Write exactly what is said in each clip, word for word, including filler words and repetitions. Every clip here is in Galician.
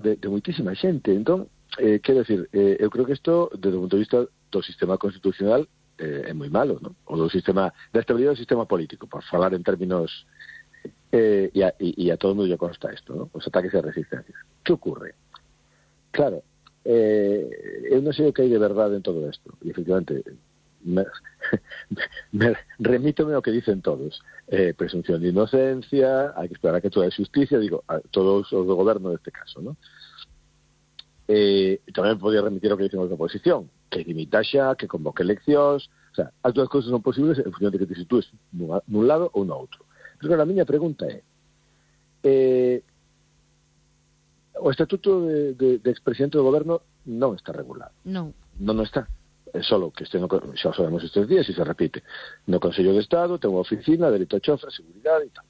de, de moitísima xente. Entón, eh, quero decir, eh, eu creo que isto, desde o punto de vista do sistema constitucional, eh, é moi malo, non? O do sistema, da estabilidade do sistema político, por falar en términos, eh, e, a, e, e a todo mundo lle consta isto, non? Os ataques e resistencias. Que ocurre? Claro, eh, eu non sei o que hai de verdade en todo isto, e efectivamente me, me remítome ao que dicen todos, eh, presunción de inocencia, hai que esperar a que toda a justicia, digo, a todos os do goberno neste caso, non? Eh, tamén podía remitir o que dicen os da oposición, que limita xa, que convoque eleccións, o sea, as dúas cousas son posibles en función de que te sitúes nun, nun lado ou no outro. Pero claro, a miña pregunta é, eh, o estatuto de, de, de expresidente do goberno non está regulado. Non. Non, non está. É solo que este no, xa sabemos estes días e se repite. No Consello de Estado ten unha oficina, delito a chofer, seguridade e tal.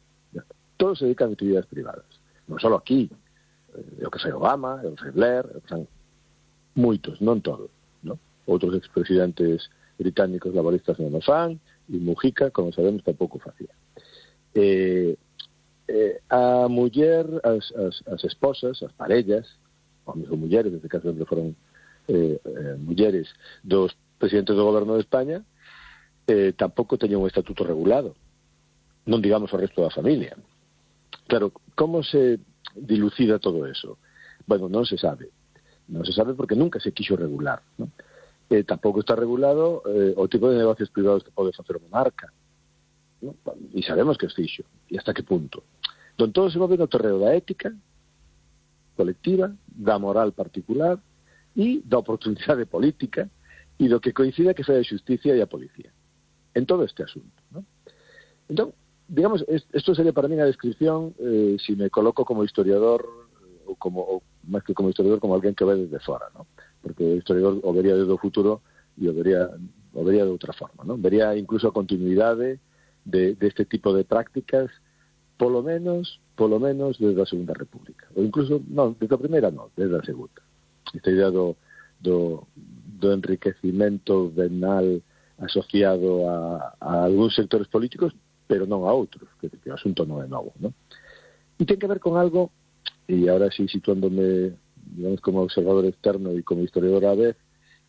Todos se dedican a actividades privadas. Non solo aquí. O que foi Obama, o que foi Blair, o que son moitos, non todos. ¿No? Outros expresidentes británicos laboristas non o fan, e Mujica, como sabemos, tampouco facía. Eh, eh, a muller, as, as, as esposas, as parellas, homens ou mulleres, neste caso sempre foron Eh, eh, mulleres dos presidentes do goberno de España, eh, tampouco teñen un estatuto regulado, non digamos o resto da familia. Claro, como se dilucida todo eso? Bueno, non se sabe, non se sabe porque nunca se quixo regular, ¿no? Eh, tampouco está regulado eh, o tipo de negocios privados que pode facer o monarca, ¿no? E sabemos que es fixo, e hasta que punto. Don todo se move no terreo da ética colectiva, da moral particular e da oportunidade política e do que coincida que foi a justicia e a policía en todo este asunto, ¿no? Entón, digamos, isto sería para mí a descripción, eh, si me coloco como historiador ou como, ou máis que como historiador, como alguén que ve desde fora, ¿no? Porque o historiador o vería desde o futuro e o vería, o vería de outra forma, ¿no? Vería incluso a continuidade de, de este tipo de prácticas, polo menos, polo menos desde a Segunda República, ou incluso, non, desde a primeira non, desde a Segunda. Esta idea do, do, do enriquecimento venal asociado a, a algúns sectores políticos, pero non a outros, que, que o asunto non é novo, ¿no? E ten que ver con algo, e ahora sí situándome, digamos, como observador externo e como historiador á vez,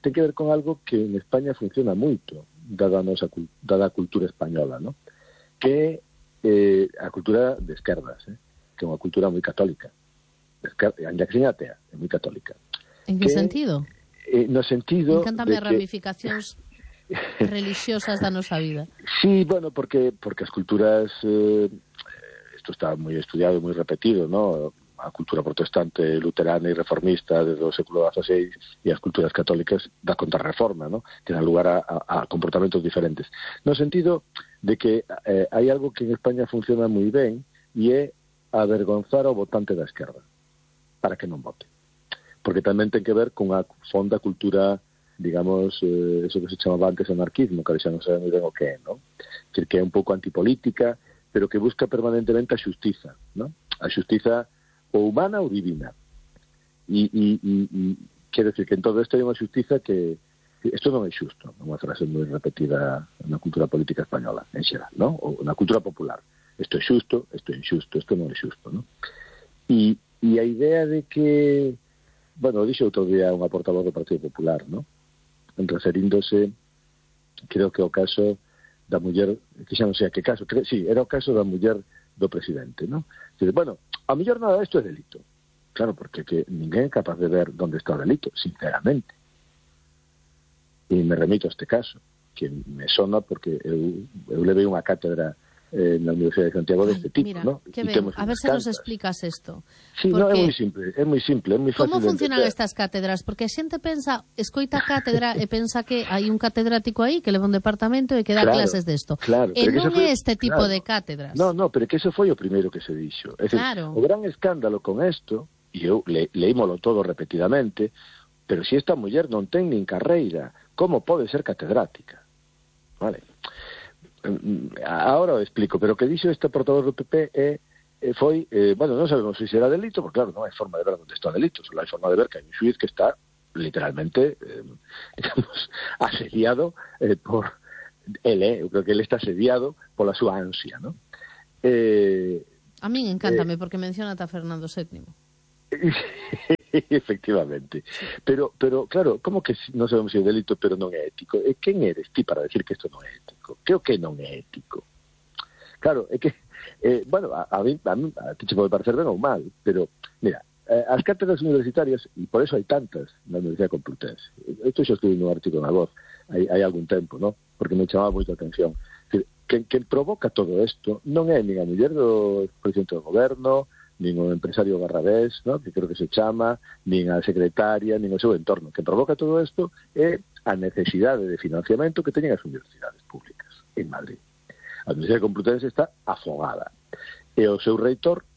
ten que ver con algo que en España funciona moito, dada a nosa dada a cultura española, ¿no? Que é eh, a cultura de esquerdas, eh? Que é unha cultura moi católica, ainda que seña atea, é moi católica. En que, que sentido? Eh, no sentido... Encántame as que... ramificacións religiosas da nosa vida. Sí, bueno, porque porque as culturas... Eh, isto está moi estudiado, moi repetido, ¿no? A cultura protestante, luterana e reformista desde o século dieciséis e as culturas católicas da contrarreforma, ¿no? Que dan lugar a, a, a comportamentos diferentes. No sentido de que eh, hai algo que en España funciona moi ben e é avergonzar ao votante da esquerda para que non vote. Porque tamén ten que ver con a fonda cultura, digamos, eh, eso que se chamaba antes anarquismo, que xa non sabe moi ben o que é, ¿no? Que é un pouco antipolítica, pero que busca permanentemente a xustiza, ¿no? A xustiza ou humana ou divina. E, e, e, e quero decir que en todo isto hai unha xustiza que, que isto non é xusto, unha frase moi repetida na cultura política española, en xeral, ¿no? Ou na cultura popular. Isto é xusto, isto é injusto, isto non é xusto, ¿no? E, e a idea de que... Bueno, dixo outro día unha portavoz do Partido Popular, ¿no? Referíndose, creo que o caso da muller, que xa non sei a que caso, creo, sí, era o caso da muller do presidente, ¿no? Dice, bueno, a mellor nada isto é delito. Claro, porque que ninguén é capaz de ver onde está o delito, sinceramente. E me remito a este caso, que me sona porque eu, eu levei unha cátedra eh, na Universidade de Santiago deste tipo, mira, ¿no? Que ben, a ver se nos explicas isto. Sí, no, é moi simple, é moi simple, é moi fácil. Como funcionan estas cátedras? Porque a xente pensa, escoita cátedra e pensa que hai un catedrático aí que leva un departamento e que dá claro, clases desto. Claro, e non foi, é este tipo claro, de cátedras. No, no, pero que eso foi o primeiro que se dixo. É decir, claro. O gran escándalo con isto, e eu le, leímolo todo repetidamente, pero se si esta muller non ten nin carreira, como pode ser catedrática? Vale. Ahora o explico, pero o que dixo este portavoz do P P é, foi, eh, bueno, non sabemos se será delito, porque claro, non hai forma de ver onde está o delito, só hai forma de ver que hai un xuiz que está literalmente, eh, digamos, asediado eh, por ele, eu creo que ele está asediado pola súa ansia, ¿no? Eh, a min encántame, eh, porque menciona a Fernando séptimo. efectivamente. Pero, pero claro, como que non sabemos se é delito pero non é ético? E quen eres ti para decir que isto non é ético? Que o que non é ético? Claro, é que, eh, bueno, a, a, mí, a, mí, a ti che pode parecer ben ou mal, pero, mira, eh, as cátedras universitarias, e por eso hai tantas na Universidade Complutense, isto xa estive nun artigo na Voz hai, hai algún tempo, ¿no? Porque me chamaba moito a atención. Que, que provoca todo isto non é nin a muller do presidente do goberno, nin o empresario Barrabés, ¿no? Que creo que se chama, nin a secretaria, nin o seu entorno. Que provoca todo isto é a necesidade de financiamento que teñen as universidades públicas en Madrid. A Universidade Complutense está afogada. E o seu reitor,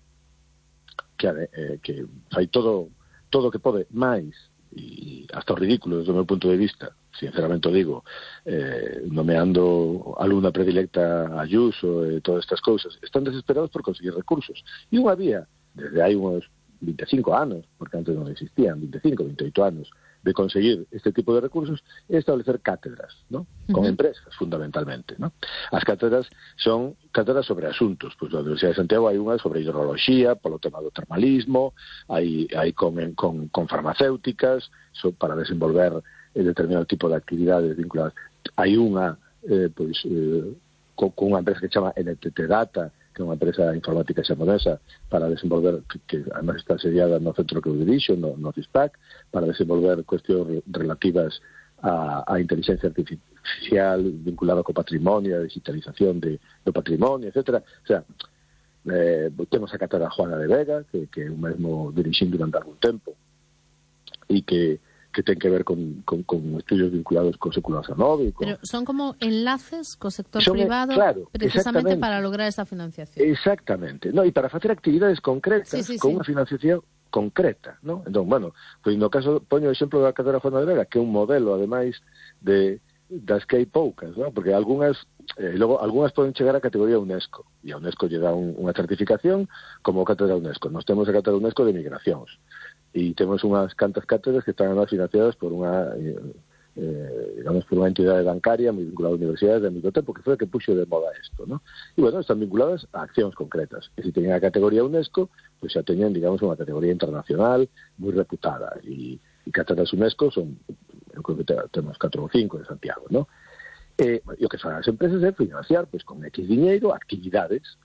que, eh, que fai todo todo o que pode máis, e hasta o ridículo desde o meu punto de vista, sinceramente o digo, eh, nomeando alumna predilecta a Ayuso e todas estas cousas, están desesperados por conseguir recursos. E unha vía, desde hai uns vinte e cinco anos, porque antes non existían, vinte e cinco, vinte e oito anos, de conseguir este tipo de recursos, é establecer cátedras, ¿no? Con uh-huh. empresas, fundamentalmente, ¿no? As cátedras son cátedras sobre asuntos, pois na Universidade de Santiago hai unha sobre hidroloxía, polo tema do termalismo, hai, hai con, con, con farmacéuticas, so, para desenvolver eh, determinado tipo de actividades vinculadas. Hai unha, eh, pois, eh, con, con unha empresa que se chama N T T Data, que é unha empresa informática xaponesa para desenvolver, que, que además está sediada no centro que eu dirixo, no, no CISPAC, para desenvolver cuestións relativas a, a inteligencia artificial vinculada co patrimonio, a digitalización de, do patrimonio, etcétera. O sea, eh, temos a cátedra Juana de Vega, que, que eu mesmo dirixín durante algún tempo, e que que ten que ver con, con, con estudios vinculados co século dezenove. Con... Pero son como enlaces co sector son, privado, claro, precisamente para lograr esa financiación. Exactamente. No, e para facer actividades concretas, sí, sí, con sí. unha financiación concreta, ¿no? Entón, bueno, pois no caso, poño o exemplo da Cátedra Juana de Vega, que é un modelo, ademais, de das que hai poucas, ¿no? Porque algunhas, eh, logo, algunhas poden chegar a categoría UNESCO, e a UNESCO lle dá un, unha certificación como Cátedra UNESCO. Nós temos a Cátedra UNESCO de Migracións, e temos unhas cantas cátedras que están además financiadas por unha eh, eh, digamos por unha entidade bancaria moi vinculada a universidades de moito tempo, que foi a que puxo de moda isto, ¿no? E bueno, están vinculadas a accións concretas, e se teñen a categoría UNESCO, pois xa teñen, digamos, unha categoría internacional moi reputada, e, e cátedras UNESCO son, eu creo que temos catro ou cinco en Santiago, ¿no? E, e o que fan as empresas é financiar, pois con X diñeiro, actividades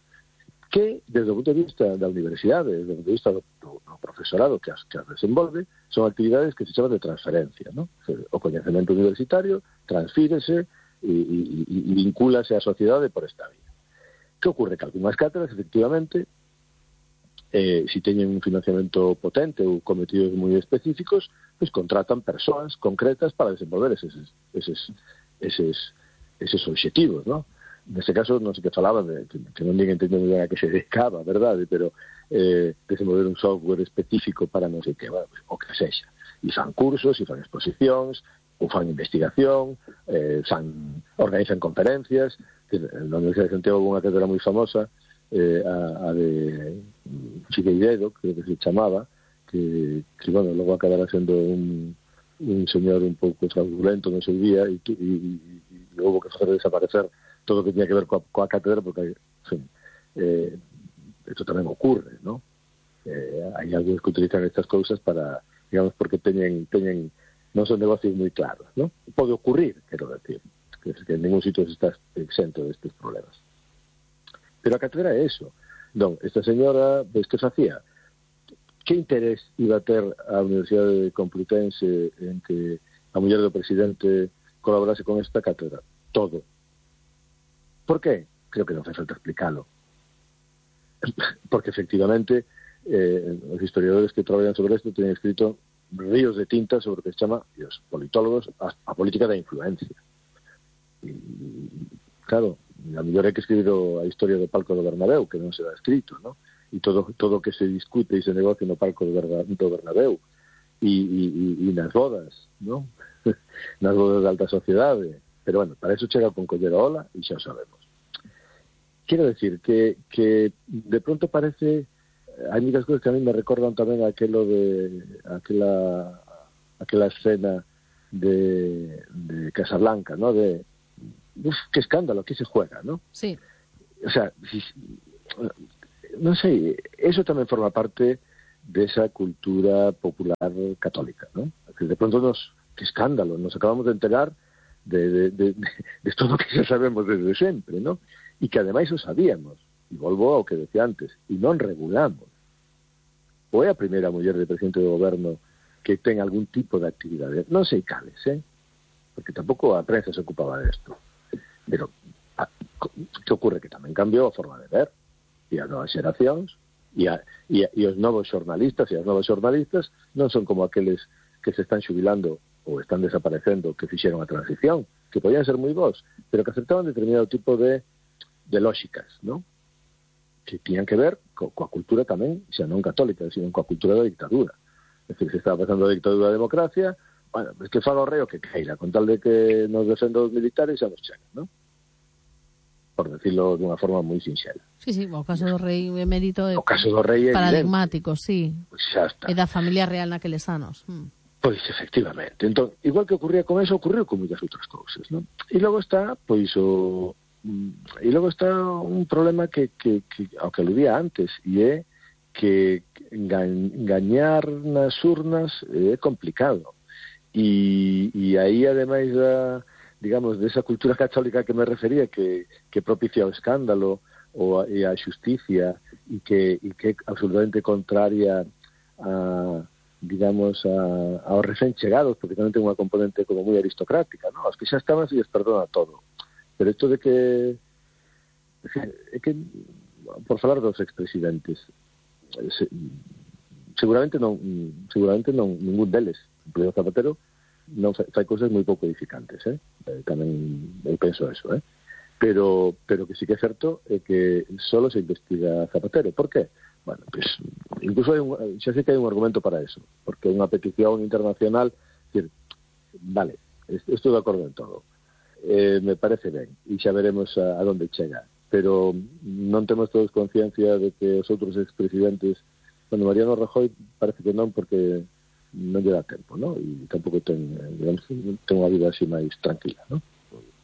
que, desde o punto de vista da universidade, desde o punto de vista do, do, do profesorado que as, que as desenvolve, son actividades que se chaman de transferencia, ¿no? O coñecemento universitario transfírese e, e, e vincúlase á sociedade por esta vía. Que ocorre? Que algunhas cátedras, efectivamente, eh, si teñen un financiamento potente ou cometidos moi específicos, pues contratan persoas concretas para desenvolver eses, eses, eses, eses obxectivos, ¿no? Neste caso, non sei que falaba, de, que, que non ninguén entendeu ben a que se dedicaba, verdade, pero eh, desenvolver un software específico para non sei que, bueno, pues, o que sexa. E fan cursos, e fan exposicións, ou fan investigación, eh, fan, organizan conferencias. Na Universidade de Santiago houve unha cátedra moi famosa, eh, a, a de Figueiredo, creo que se chamaba, que, que bueno, logo acabara sendo un, un señor un pouco fraudulento no seu día, e, e, e houve que facer desaparecer todo o que tiña que ver coa, coa cátedra, porque, en fin, eh, esto tamén ocurre, ¿no? Eh, hai algúns que utilizan estas cousas para, digamos, porque teñen, teñen non son negocios moi claros, ¿no? Pode ocurrir, quero decir, que, que en ningún sitio se está exento destes problemas. Pero a cátedra é eso. Non, esta señora, pues, que facía? Que interés iba a ter a Universidade Complutense en que a muller do presidente colaborase con esta cátedra? Todo. ¿Por qué? Creo que non fai falta explicarlo. Porque, efectivamente, eh, os historiadores que traballan sobre isto teñen escrito ríos de tinta sobre o que se chama, e os politólogos, a, a política da influencia. E, claro, a mellor hai que escribir a historia do palco do Bernabéu, que non se dá escrito, ¿no? E todo todo que se discute e se negocia no palco do Bernabéu, e, e, e nas bodas, ¿no? Nas bodas da alta sociedade. Pero, bueno, para eso chega con coller a ola e xa o sabemos. Quiero decir que, que de pronto parece, hai muchas cosas que a mí me recordan tamén aquelo de aquela aquela escena de, de Casablanca, ¿no? De, uf, qué escándalo, aquí se juega, ¿no? Sí. O sea, si, non sei, eso tamén forma parte desa cultura popular católica, ¿no? Que de pronto nos, que escándalo, nos acabamos de enterar de, de, de, de, de todo o que xa sabemos desde sempre, ¿no? E que ademais o sabíamos, e volvo ao que decía antes, e non regulamos. Ou é a primeira muller de presidente do goberno que ten algún tipo de actividade, non sei cales, eh? Porque tampouco a prensa se ocupaba desto. Pero, a, que ocurre? Que tamén cambiou a forma de ver, e as novas xeracións, e, a, e, a, e os novos xornalistas e as novas xornalistas non son como aqueles que se están xubilando ou están desaparecendo, que fixeron a transición, que podían ser moi bons, pero que aceptaban determinado tipo de, de lógicas, ¿no? Que tiñan que ver co, coa cultura tamén, xa non católica, sino coa cultura da dictadura. É dicir, se estaba pasando a dictadura da democracia, bueno, es que faga o reo que queira, con tal de que nos defenda os militares xa nos chega, ¿no? Por decirlo dunha forma moi sinxela. Sí, sí, o caso do rei emérito é o caso do rei é paradigmático, sí. Pois xa está. É da familia real naqueles anos. Mm. Pois, efectivamente. Entón, igual que ocurría con eso, ocurriu con moitas outras cousas, ¿no? E logo está, pois, o... E logo está un problema que, que, que ao que aludía antes, e é que gañar nas urnas é complicado. E, e aí, ademais da, digamos, desa cultura católica que me refería, que, que propicia o escándalo ou a, e a xusticia, e que, e que é absolutamente contraria a, digamos, a, aos recén chegados, porque tamén ten unha componente como moi aristocrática, ¿no? Os que xa estaban se lles perdona todo. Pero isto de que, é que, por falar dos expresidentes, se, seguramente non, seguramente non, ningún deles, incluído Zapatero, non fai, fai cousas moi pouco edificantes, eh? eh tamén eu penso eso, eh? Pero, pero que sí que é certo é que solo se investiga Zapatero. Por qué? Bueno, pues, incluso hai un, xa sei que hai un argumento para eso, porque unha petición internacional, decir, vale, estou de acordo en todo, eh, me parece ben, e xa veremos a, a donde chega, pero non temos todos conciencia de que os outros expresidentes, bueno, Mariano Rajoy parece que non, porque non lle dá tempo, ¿no? E tampouco ten, digamos, ten unha vida así máis tranquila, ¿no?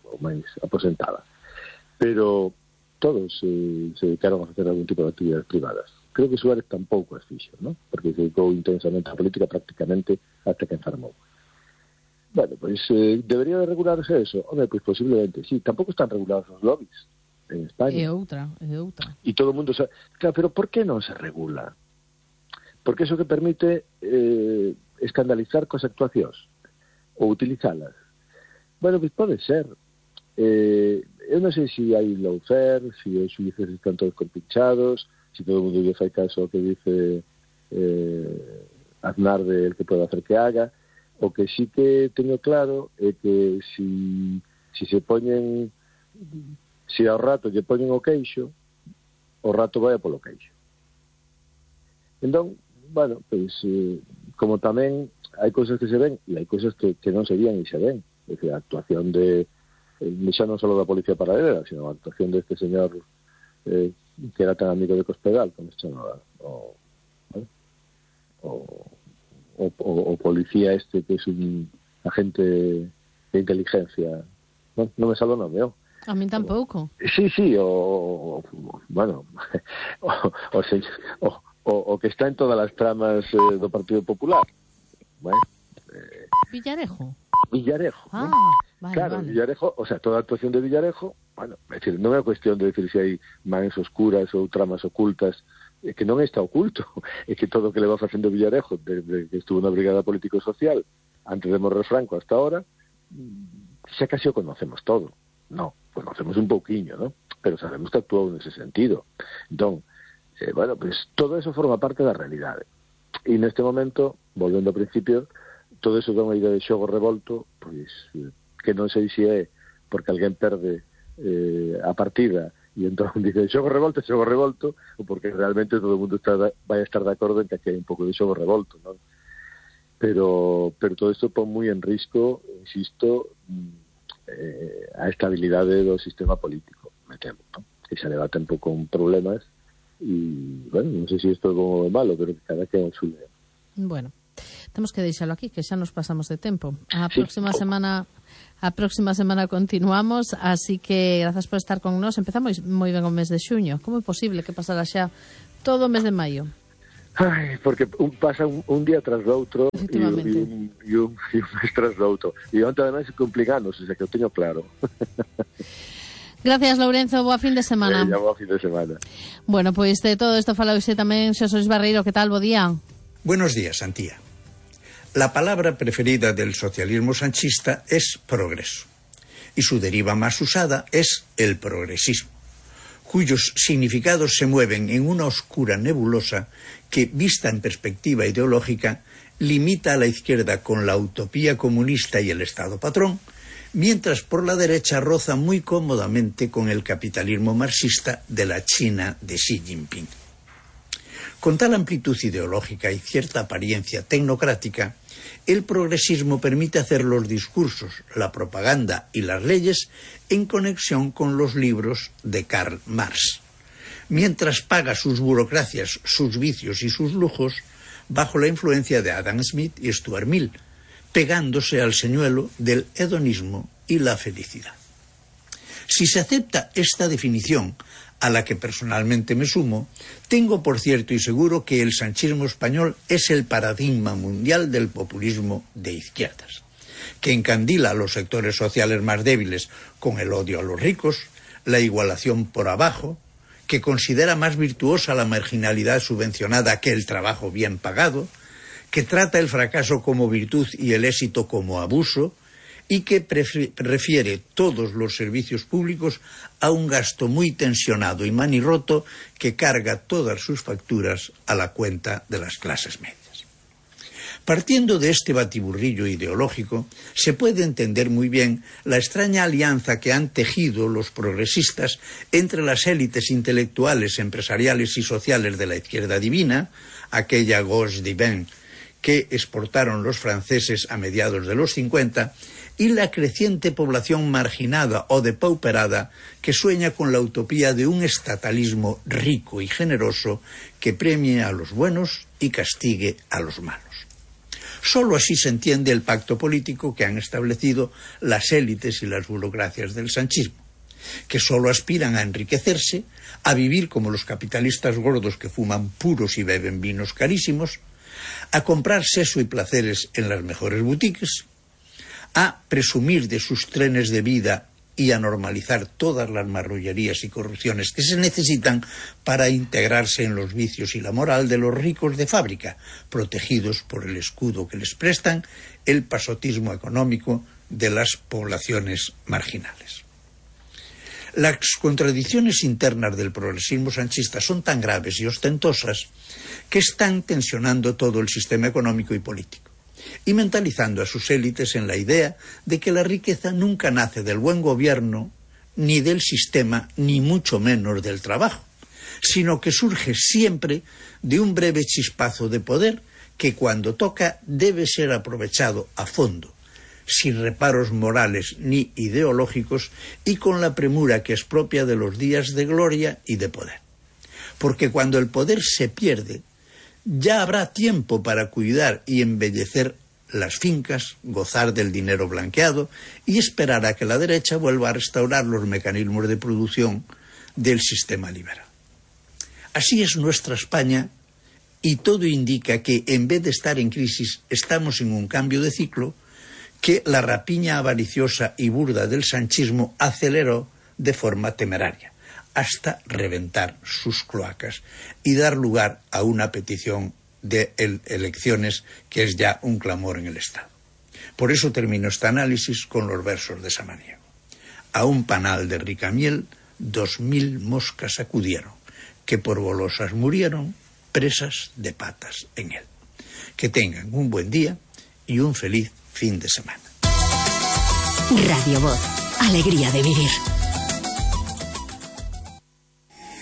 Ou máis aposentada. Pero todos eh, se dedicaron a facer algún tipo de actividades privadas. Creo que Suárez tampouco as fixo, ¿no? Porque se dedicou intensamente á política prácticamente hasta que enfermou. Bueno, pois eh, debería de regularse eso. Home, pois posiblemente, sí. Tampouco están regulados os lobbies en España. É outra, é outra. E todo o mundo sabe. Claro, pero por que non se regula? Porque eso que permite eh, escandalizar cos actuacións ou utilizalas. Bueno, pois pode ser. Eh, eu non sei se hai lawfare, se os xuíces están todos compinchados, se todo o mundo lle fai caso ao que dice eh, Aznar de el que pode hacer que haga. O que sí que teño claro é que si, si se poñen, si ao rato lle poñen o queixo, o rato vai polo queixo. Entón, bueno, pois, eh, como tamén hai cousas que se ven e hai cousas que, que non se vían e se ven. É dicir, a actuación de, eh, xa non só da Policía Paralela, sino a actuación deste señor eh, que era tan amigo de Cospedal, como se chamaba, o, ¿eh? o, o, o, o policía este que é un agente de inteligencia. Non, non me sale o nome, oh. A min tampouco. Sí, sí, o, o bueno, o, o, o, o, o que está en todas as tramas eh, do Partido Popular. Bueno, eh, Villarejo. Villarejo. Ah, ¿no? vale, Claro, vale. Villarejo, o sea, toda a actuación de Villarejo, bueno, é decir, non é cuestión de decir se hai mans oscuras ou tramas ocultas, é que non está oculto, é que todo o que le va facendo Villarejo desde que estuvo na Brigada Político-Social antes de morrer Franco hasta ahora, xa casi o conocemos todo. No, conocemos un pouquiño, ¿no? Pero sabemos que actuou nese sentido. Entón, eh, bueno, pues todo eso forma parte da realidade. E neste momento, volvendo ao principio, todo eso dá unha idea de xogo revolto, pois, eh, que non sei se é porque alguén perde eh, a partida e entón dice xogo revolto, xogo revolto, ou porque realmente todo o mundo está, vai a estar de acordo en que hai un pouco de xogo revolto, non? Pero, pero todo isto pon moi en risco, insisto, eh, a estabilidade do sistema político, me temo, ¿no? Que xa leva tempo con problemas e, bueno, non sei se isto é como de malo, pero que cada que é un xuleo. Bueno, temos que deixalo aquí, que xa nos pasamos de tempo. A Sí. próxima semana a próxima semana continuamos, así que grazas por estar con nós. Empezamos moi ben o mes de xuño. Como é posible que pasara xa todo o mes de maio? Ai, porque un, pasa un, un día tras do outro e, e, un, e, un, e un mes tras do outro. E onde ademais se complican anos, o sea que eu teño claro. Gracias, Lourenzo, boa fin de semana. Eh, boa fin de semana. Bueno, pois pues de todo isto fala hoxe tamén Xosé Luis Barreiro, que tal, bo día? Buenos días, Antía. La palabra preferida del socialismo sanchista es progreso, y su deriva más usada es el progresismo, cuyos significados se mueven en una oscura nebulosa que, vista en perspectiva ideológica, limita a la izquierda con la utopía comunista y el Estado patrón, mientras por la derecha roza muy cómodamente con el capitalismo marxista de la China de Xi Jinping. Con tal amplitud ideológica y cierta apariencia tecnocrática, el progresismo permite hacer los discursos, la propaganda y las leyes en conexión con los libros de Karl Marx, mientras paga sus burocracias, sus vicios y sus lujos bajo la influencia de Adam Smith y Stuart Mill, pegándose al señuelo del hedonismo y la felicidad. Si se acepta esta definición, a la que personalmente me sumo, tengo por cierto y seguro que el sanchismo español es el paradigma mundial del populismo de izquierdas, que encandila a los sectores sociales más débiles con el odio a los ricos, la igualación por abajo, que considera más virtuosa la marginalidad subvencionada que el trabajo bien pagado, que trata el fracaso como virtud y el éxito como abuso, y que refiere todos los servicios públicos a un gasto muy tensionado y manirroto que carga todas sus facturas a la cuenta de las clases medias. Partiendo de este batiburrillo ideológico, se puede entender muy bien la extraña alianza que han tejido los progresistas entre las élites intelectuales, empresariales y sociales de la izquierda divina, aquella gauche divine que exportaron los franceses a mediados de los cincuenta, y la creciente población marginada o depauperada que sueña con la utopía de un estatalismo rico y generoso que premie a los buenos y castigue a los malos. Solo así se entiende el pacto político que han establecido las élites y las burocracias del sanchismo, que solo aspiran a enriquecerse, a vivir como los capitalistas gordos que fuman puros y beben vinos carísimos, a comprar sexo y placeres en las mejores boutiques, a presumir de sus trenes de vida y a normalizar todas las marrullerías y corrupciones que se necesitan para integrarse en los vicios y la moral de los ricos de fábrica, protegidos por el escudo que les prestan el pasotismo económico de las poblaciones marginales. Las contradicciones internas del progresismo sanchista son tan graves y ostentosas que están tensionando todo el sistema económico y político, y mentalizando a sus élites en la idea de que la riqueza nunca nace del buen gobierno, ni del sistema, ni mucho menos del trabajo, sino que surge siempre de un breve chispazo de poder que cuando toca debe ser aprovechado a fondo, sin reparos morales ni ideológicos y con la premura que es propia de los días de gloria y de poder. Porque cuando el poder se pierde, ya habrá tiempo para cuidar y embellecer las fincas, gozar del dinero blanqueado y esperar a que la derecha vuelva a restaurar los mecanismos de producción del sistema liberal. Así es nuestra España, y todo indica que en vez de estar en crisis estamos en un cambio de ciclo que la rapiña avariciosa y burda del sanchismo aceleró de forma temeraria, hasta reventar sus cloacas y dar lugar a una petición de el, elecciones que es ya un clamor en el Estado. Por eso termino este análisis con los versos de Samaniego. A un panal de rica miel dos mil moscas acudieron, que por golosas murieron, presas de patas en él. Que tengan un buen día y un feliz fin de semana. Radio Voz, alegría de vivir.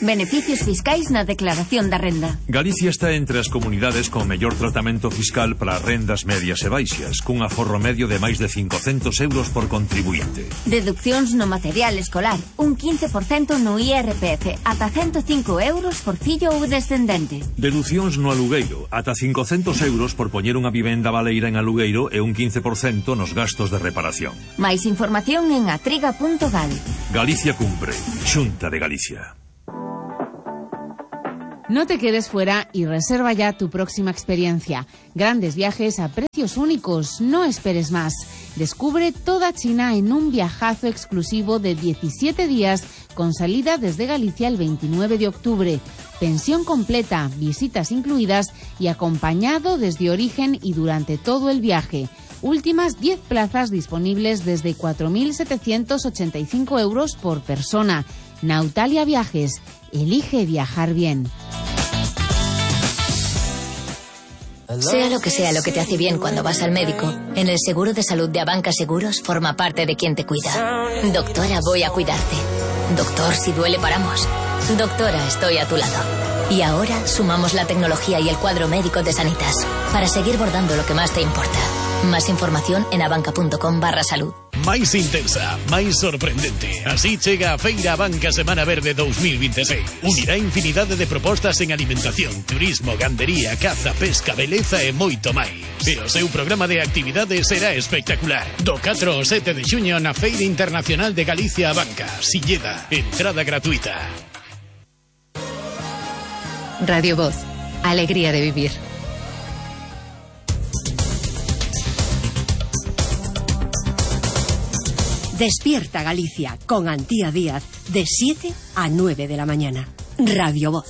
Beneficios fiscais na declaración da renda. Galicia está entre as comunidades con mellor tratamento fiscal para rendas medias e baixas, cun aforro medio de máis de cincocentos euros por contribuinte. Deduccións no material escolar, un quince por cento no I R P F, ata ciento cinco euros por fillo ou descendente. Deducións no alugueiro, ata cincocentos euros por poñer unha vivenda baleira en alugueiro e un quince por cento nos gastos de reparación. Máis información en atriga punto gal. Galicia cumpre. Xunta de Galicia. No te quedes fuera y reserva ya tu próxima experiencia. Grandes viajes a precios únicos, no esperes más. Descubre toda China en un viajazo exclusivo de diecisiete días con salida desde Galicia el veintinueve de octubre. Pensión completa, visitas incluidas y acompañado desde origen y durante todo el viaje. Últimas diez plazas disponibles desde cuatro mil setecientos ochenta y cinco euros por persona. Nautalia Viajes. Elige viajar bien. Sea lo que sea lo que te hace bien cuando vas al médico, en el seguro de salud de Abanca Seguros forma parte de quien te cuida. Doctora, voy a cuidarte. Doctor, si duele paramos. Doctora, estoy a tu lado. Y ahora sumamos la tecnología y el cuadro médico de Sanitas para seguir bordando lo que más te importa. Más información en abanca.com barra salud. Máis intensa, máis sorprendente. Así chega a Feira Abanca Semana Verde dos mil veintiséis. Unirá infinidade de propostas en alimentación, turismo, gandería, caza, pesca, beleza e moito máis. E o seu programa de actividades será espectacular. Do catro ao sete de xuño na Feira Internacional de Galicia Abanca. Silleda, entrada gratuita. Radio Voz, alegría de vivir. Despierta Galicia con Antía Díaz de siete a nueve de la mañana. Radio Voz.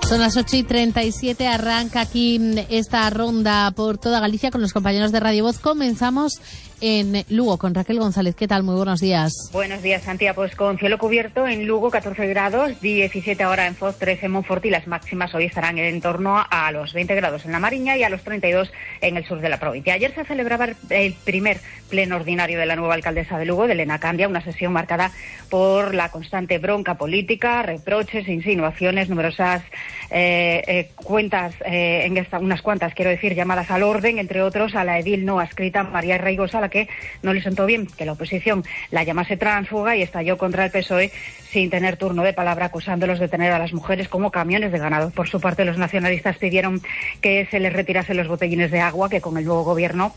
Son las ocho y treinta y siete, arranca aquí esta ronda por toda Galicia con los compañeros de Radio Voz. Comenzamos en Lugo con Raquel González. ¿Qué tal? Muy buenos días. Buenos días, Santiago. Pues con cielo cubierto en Lugo, catorce grados, diecisiete ahora en Foz, trece en Monforte y las máximas hoy estarán en torno a los veinte grados en la Mariña y a los treinta y dos en el sur de la provincia. Ayer se celebraba el primer pleno ordinario de la nueva alcaldesa de Lugo, de Elena Candia, una sesión marcada por la constante bronca política, reproches, insinuaciones, numerosas eh, eh, cuentas, eh, en esta, unas cuantas, quiero decir, llamadas al orden, entre otros a la edil no adscrita María Reigosa, a la que no le sentó bien que la oposición la llamase tránsfuga y estalló contra el P S O E sin tener turno de palabra, acusándolos de tener a las mujeres como camiones de ganado. Por su parte, los nacionalistas pidieron que se les retirasen los botellines de agua que con el nuevo gobierno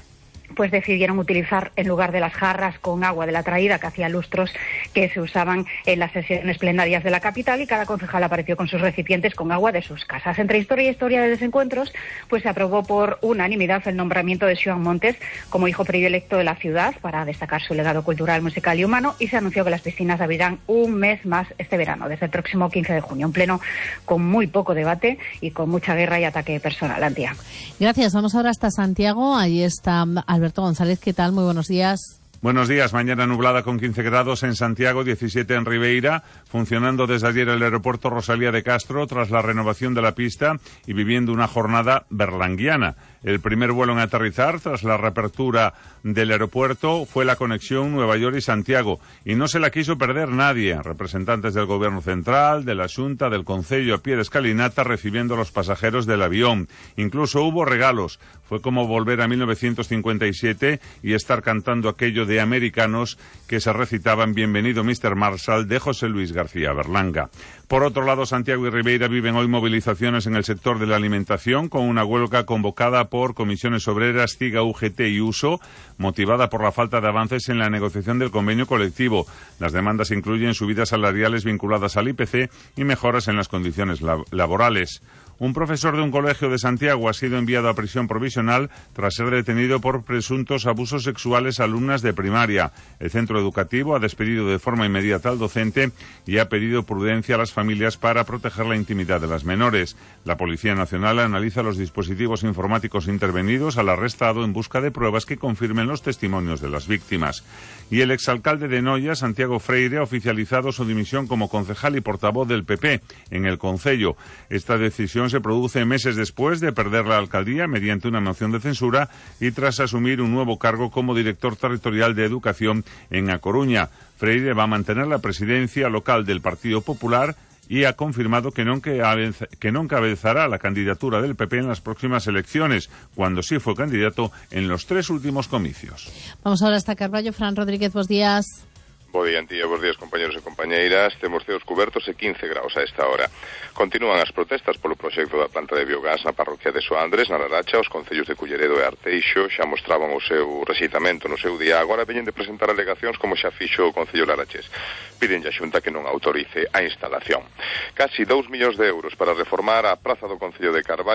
pues decidieron utilizar en lugar de las jarras con agua de la traída que hacía lustros que se usaban en las sesiones plenarias de la capital, y cada concejal apareció con sus recipientes con agua de sus casas. Entre historia y historia de desencuentros, pues se aprobó por unanimidad el nombramiento de Xoán Montes como hijo predilecto de la ciudad para destacar su legado cultural, musical y humano, y se anunció que las piscinas abrirán un mes más este verano, desde el próximo quince de junio, un pleno con muy poco debate y con mucha guerra y ataque personal. Antía. Gracias. Vamos ahora hasta Santiago. Allí está Alberto González. ¿Qué tal? Muy buenos días. Buenos días. Mañana nublada con quince grados en Santiago, diecisiete en Ribeira, funcionando desde ayer el aeropuerto Rosalía de Castro tras la renovación de la pista y viviendo una jornada berlanguiana. El primer vuelo en aterrizar tras la reapertura del aeropuerto fue la conexión Nueva York y Santiago, y no se la quiso perder nadie. Representantes del Gobierno Central, de la Xunta, del Concello a pie de escalinata recibiendo a los pasajeros del avión. Incluso hubo regalos. Fue como volver a mil novecientos cincuenta y siete y estar cantando aquello de Americanos que se recitaban Bienvenido mister Marshall de José Luis García Berlanga. Por otro lado, Santiago y Ribeira viven hoy movilizaciones en el sector de la alimentación con una huelga convocada por comisiones obreras, CIGA, U G T y USO, motivada por la falta de avances en la negociación del convenio colectivo. Las demandas incluyen subidas salariales vinculadas al I P C y mejoras en las condiciones lab- laborales. Un profesor de un colegio de Santiago ha sido enviado a prisión provisional tras ser detenido por presuntos abusos sexuales a alumnas de primaria. El centro educativo ha despedido de forma inmediata al docente y ha pedido prudencia a las familias para proteger la intimidad de las menores. La Policía Nacional analiza los dispositivos informáticos intervenidos al arrestado en busca de pruebas que confirmen los testimonios de las víctimas. Y el exalcalde de Noia, Santiago Freire, ha oficializado su dimisión como concejal y portavoz del P P en el concello. Esta decisión se produce meses después de perder la alcaldía mediante una moción de censura y tras asumir un nuevo cargo como director territorial de Educación en A Coruña. Freire va a mantener la presidencia local del Partido Popular y ha confirmado que no, que no encabezará la candidatura del P P en las próximas elecciones, cuando sí fue candidato en los tres últimos comicios. Vamos ahora hasta Carballo. Fran Rodríguez, buenos días. Bo día, Antía, bos días, compañeros e compañeiras. Temos ceos cubertos e quince graus a esta hora. Continúan as protestas polo proxecto da planta de biogás na parroquia de Soandres, na Laracha. Os concellos de Culleredo e Arteixo xa mostraban o seu rexeitamento no seu día. Agora veñen de presentar alegacións como xa fixo o Concello Larachés. Piden a Xunta que non autorice a instalación. Casi dous millóns de euros para reformar a praza do Concello de Carballo